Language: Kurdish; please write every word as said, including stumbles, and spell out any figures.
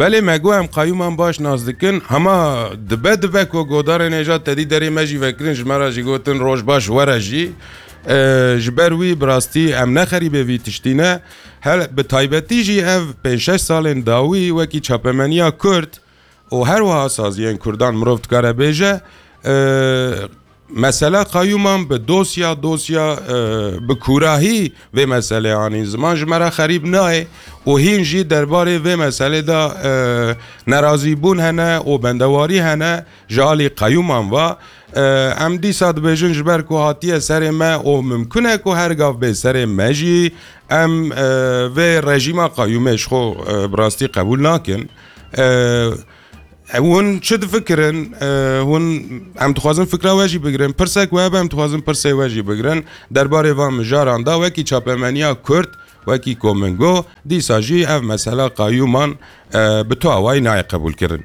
Belê me got em qayûman baş nas dikin, hema dibe dibe ku godarê nêja tedî derê me jî vekirin, ji me re jî gotin roj baş were jî. E, ji ber wî bi rastî em ne xerîbê vî tiştî ne. Her, bi taybetî jî ev pênc şeş salên dawî wekî çapemeniya Kurd û her wiha saziyên Kurdan mirov dikare bêje, e, mesela qayûman bi dosya, dosya, e, bi kûrahî vê meselê anîn ziman ji me re xerîb nayê û hîn jî derbarê vê meselê de, e, nerazîbûn hene û bendewarî hene ji alî qayûman ve. E, em dîsa dibêjin ji ber ku hatiye serê me û mimkun e ku her gav bê serê me jî, em, e, vê rejîma qayûmê ji xwe, e, bi rastî qebûl nakin. E, Ew hûn çi difikirin? E, hûn, em dixwazin fikra we jî bigirin. Pirsek we hebe, em dixwazin pirsê we jî bigirin. Derbarê van mijaran da wekî çapemeniya Kurd, wekî ku min got, dîsa jî ev mesela qayûman, e, bi tu awayî nayê qebûlkirin.